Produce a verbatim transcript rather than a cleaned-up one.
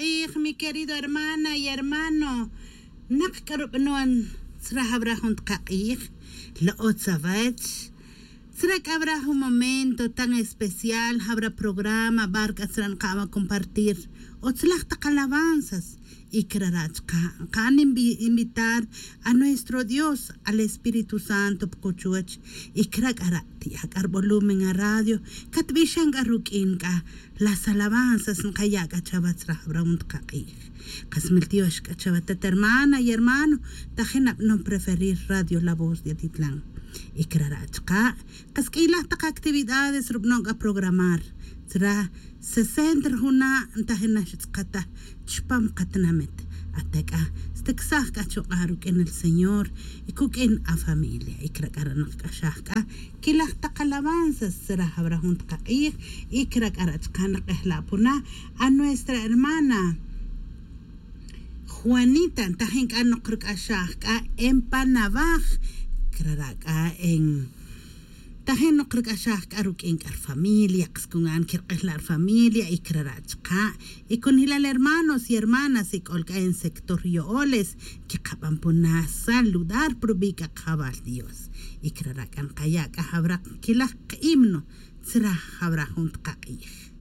Q'ij, mi querido hermana y hermano. Naq k'arub'nuan tzraj jun tqaq'ij, lo'o tzawach. Tzrek habrá un momento tan especial, habrá programa, barca tzran qama compartir otzelaj taq alabanzas y krarachqa qan invitar a nuestro Dios, al Espíritu Santo pquchuach y krak'ara ti'ak'ar volumen a radio katb'ixan k'a ruk'in k'a las alabanzas nqaya' k'a chawatzraj habrá un tqaq'ij. Qasmil tiox k'a chawatat hermana y hermano tajin ab'non preferir Radio La Voz de Atitlán. Y krarachqa qask'ilaj taq actividades rub'non k'a programar tzra sesenta rjuna' ntajin naxtz'qata chpam qatnamet atek'a steksaj k'a chuq'a ruk'in el Señor y kuk'in a familia y krak'aranaq k'axaj k'a kilaj taq alabanzas tzra habrá jun tqaq'ij y krak'arachqa naq'ejla'puna a nuestra hermana Juanita ntajin k'a noqrk'axaj k'a en Panavaj kraraq'a en tajin noqrk'axaj k'a ruk'in k'a familia qskungan kirq'ejla' familia y krarachqa y con hilal hermanos y hermanas y k'olk'a en sector Yo'oles kiqab'anpuna saludar prub'i' k'a Dios y kraraq'an qaya' k'a habrá kilaj himno tzraj habrá jun tqaq'ij.